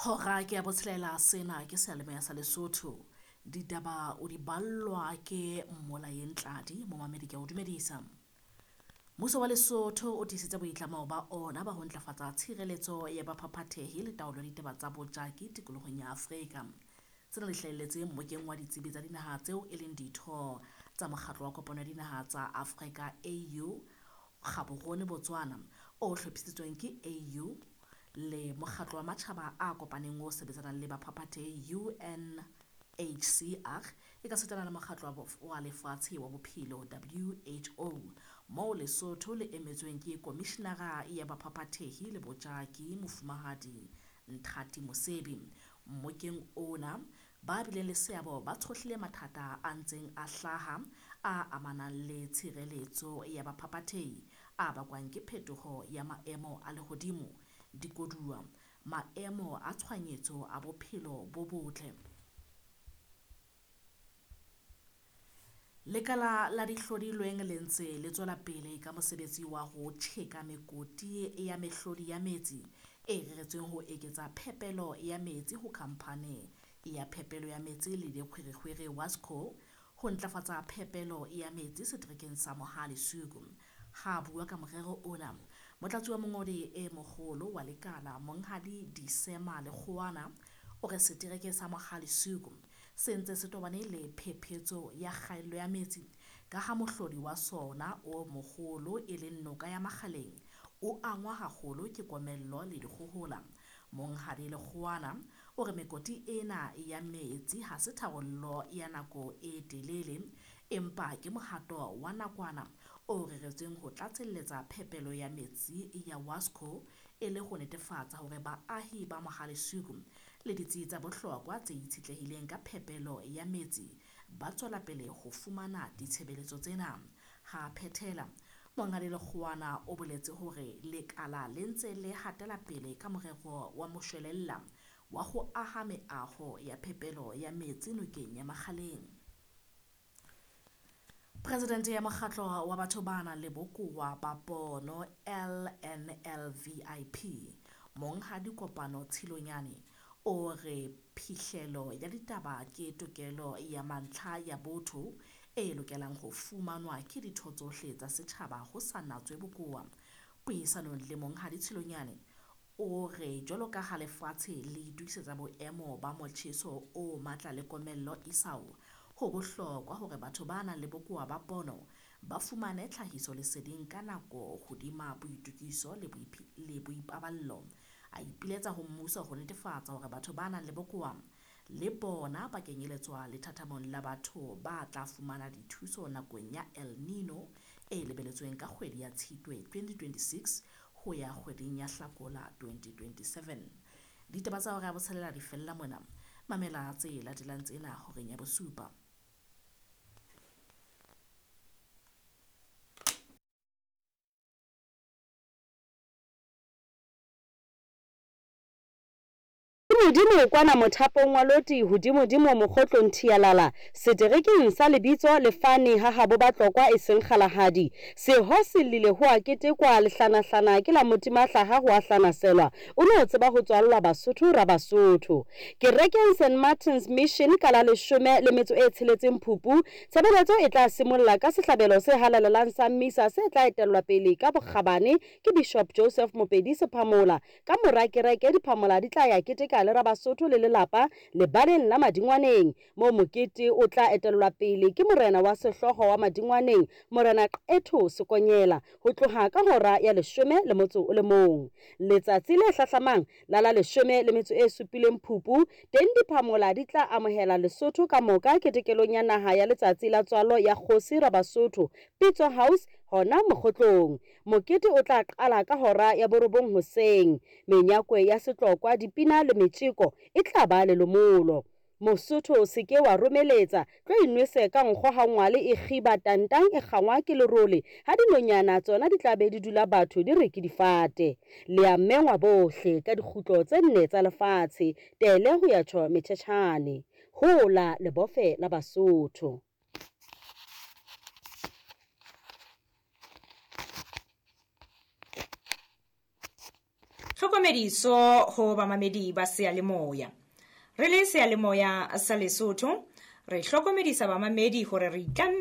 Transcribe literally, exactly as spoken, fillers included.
Hora ke ya botshelela, sena ke seyalemoya sa Lesotho. Ditaba o di ballwa ke Mmolaye Ntladi, momamedi ke a o dumedisa. Mmuso wa Lesotho o tiisitse boitlamo ba ona ba ho ntlafatsa tshireletso ya baphaphathehi le taolo ya ditaba tsa bojaki tikolohong ya Afrika. Tsena di hlahelletse mmokeng wa ditsebi tsa dinaha tseo e leng ditho tsa Mokgatlo wa Kopano ya Dinaha tsa Afrika A U Gaborone, Botswana, o hlophisitsweng ke A U le Mokgatlo wa Matjhaba a Kopaneng o sebetsanang le baphaphathehi U N H C R, e ka sitana le Mokgatlo wa Lefatshe wa Bophelo W H O, moo Lesotho le emetsweng ke Komishenara ya Baphaphathehi le Bojaki, Mofumahadi Nthati Mosebi. Mmokeng ona ba bileng le seabo ba tshohlile mathata a ntseng a hlaha a amanang le tshireletso ya baphaphathehi a bakwang ke phetoho ya maemo a lehodimo, dikoduwa, maemo a tshohanyetso a bophelo bo botle. Lekala la dihlodilweng le ntse le tswela pele ka mosebetsi wa ho tjheka mekoti ya mehlodi ya metsi e reretsweng ho eketsa phepelo ya metsi ho Khamphane ya Phepelo ya Metsi le Dikgwerekgwere WASCO ho ntlafatsa phepelo ya metsi seterekeng sa Mohale's Hoek. Ha a bua ka morero ona, Motlatsi wa Mongodi e Moholo wa lekala, Monghadi Disema Lekgowana, o re setereke sa Mohale's Hoek se ntse se tobane le phephetso ya kgaello ya metsi ka ha mohlodi wa sona o moholo e leng noka ya Makgaleng o angwa haholo ke komello le dikgohola. Monghadi Lekgowana o re mekoti ena ya metsi ha se tharollo ya nako e telele, empa ke mohato wa nakwana o reretsweng ho tlatselletsa phepelo ya metsi ya WASCO e le ho netefatsa hore baahi ba Mohale's Hoek le ditsi tsa bohlokwa tse itshetlehileng ka phepelo ya metsi ba tswela pele ho fumana ditshebeletso tsena. Ha a phethela, Monghadi Lekgowana o boletse hore lekala le ntse le hatela pele ka morero wa moshwelella wa ho aha meaho ya phepelo ya metsi nokeng ya Makgaleng. Presidente ya Mokgatlo wa Batho ba nang le Bokowa ba Pono L N L V I P, Monghadi Kopano Tshilonyane, o re phihlelo ya ditaba ke tokelo ya mantlha ya botho e lokelang ho fumanwa ke ditho tsohle tsa setjhaba ho sa natswe bokowa. Puisanong le Monghadi Tshilonyane, o re jwalo ka ha lefatshe le itokisetsa boemo ba motjheso o matla le komello isao, ho bohlokwa hore batho ba nang le bokowa ba pono ba fumane tlhahisoleseding ka nako hodima boitokiso le boipaballo. A ipiletsa ho mmuso ho netefatsa hore batho ba nang le bokowa le bona ba kenyeletswa lethathamong la batho ba tla fumana dithuso nakong ya El Nino e lebeletsweng ka kgwedi ya Tshitwe twenty twenty-six ho ya kgweding ya Hlakola twenty twenty-seven. Ditaba tsa hora ya botshelela di fella mona. Mamela tse latelang tsena horeng ya bosupa. Modimo kwana mothapong wa loti hodimodimo mokgotlong thialala seterekeng sa lebitso lefane ha habo Batlokwa e seng kgalahadi seho se llile ho a ketekwa lehlanahlana ke la motimahlaha ho a hlanaselwa o no tseba ho tswallwa Basotho ra Basotho kerekeng Saint Martin's Mission ka la leshome le metso e tsheletseng Phupu. Tshebeletso e tla simolla ka sehlabelo se halalelang sa misa se tla etellwa pele ka bokgabane ke Bishop Joseph Mopedi Sephamola. Ka mora kereke diphamola di tla ya keteka le Rabasotho le lelapa lebaleng la Madingwaneng moo mokete o tla etellwa pele ke morena wa sehlooho wa Madingwaneng, Morena Qetho Sekonyela, ho tloha ka hora ya leshome le motso o le mong. Letsatsi le hlahlamang la la leshome le metso e supileng Phupu teng diphamola di tla amohela Lesotho ka moka ketekelong ya naha ya letsatsi la tswalo ya kgosi Rabasotho Pitso House hona Mokgotlong. Mokete o tla qala ka hora ya borobong hoseng. Menyakwe ya setlokwa, dipina le metjeko e tla ba lelomolo. Mosotho se ke wa romeletsa tlo inwese ka nkgo ha ngwale e kgiba tantang e kgangwa ke lerole ha dinonyana tsona di tla be di dula batho di re ke difate. Le a mengwa bohle ka dikgutlo tse nne tsa lefatshe tele ho ya tjho metjhetjhane hola lebofe la Basotho. Tlhokomediso ho bamamedi ba seyalemoya. Re le seyalemoya sa Lesotho, re hlokomedisa bamamedi hore re itlamme